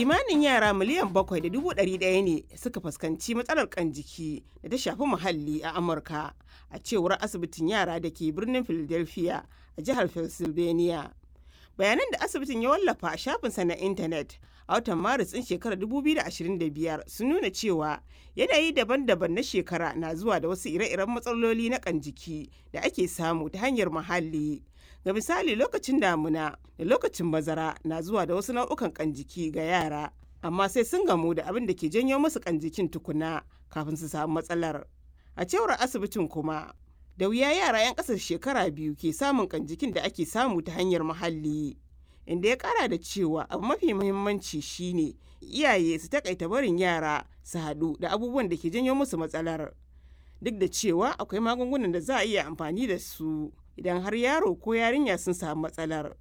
Kimanin yara 7.1 miliyan ne suka fuskanci matsalar kan jiki da ta shafi muhalli a Amurka, a cewar asibitin yara da ke birnin Philadelphia a jihar Pennsylvania. Bayanan da asibitin ya wallafa a shafinsa na intanet a watan Maris ɗin shekarar 2025 sun nuna cewa yanayi daban-daban na shekara na zuwa da wasu ire-iren matsaloli na kan jiki da ake samu ta hanyar muhalli. Ga misali, lokacin damuna da lokacin bazara na zuwa da wasu nau'ukan kan jiki ga yara, amma sai sun gamu da abin da ke janyo musu kan jikin tukuna kafin su samu matsalar. A cewar asibitin kuma, da wuya yara 'yan ƙasar shekara 2 ke samun kan jikin da ake samu ta hanyar muhalli. Inda ya kara da cewa abu mafi muhimmanci shine iyaye su takaita barin yara su haɗu da abubuwan da ke janyo musu matsalar. Duk da cewa akwai magungunan da za a iya amfani da su idan har yaro ko yarinya sun samu matsalar.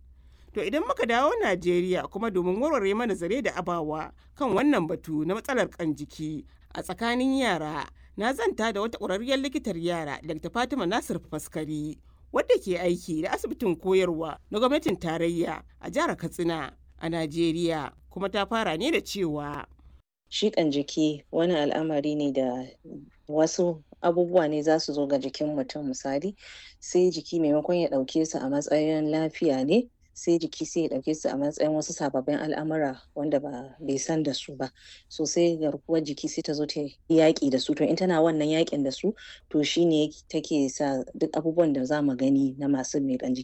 To, idan muka dawo Najeriya kuma, domin warware mana zare da abawa kan wannan batu na matsalar kan jiki a tsakanin yara, na zanta da wata ƙwararriyar likitar yara, Dr. Fatima Nasir Faskari, wadda ke aiki da asibitin koyarwa na gwamnatin tarayya a jihar Katsina a Najeriya, kuma ta fara ne da cewa. Shiƙan jiki wani al'amari ne da wasu abubuwa ne za su zo ga jikin mutum, misali, sai jiki maimakon ya ɗauke su a matsayin lafiya ne, sai jiki sai ya ɗauke su a matsayin wasu sababbin al'amura wanda ba bai san da su ba. So sai garkuwar jiki sai ta zo ta yaƙi da su. To, in tana wannan yaƙin da su, to shine take sa duk abubuwan da za mu gani na masu miƙan jiki.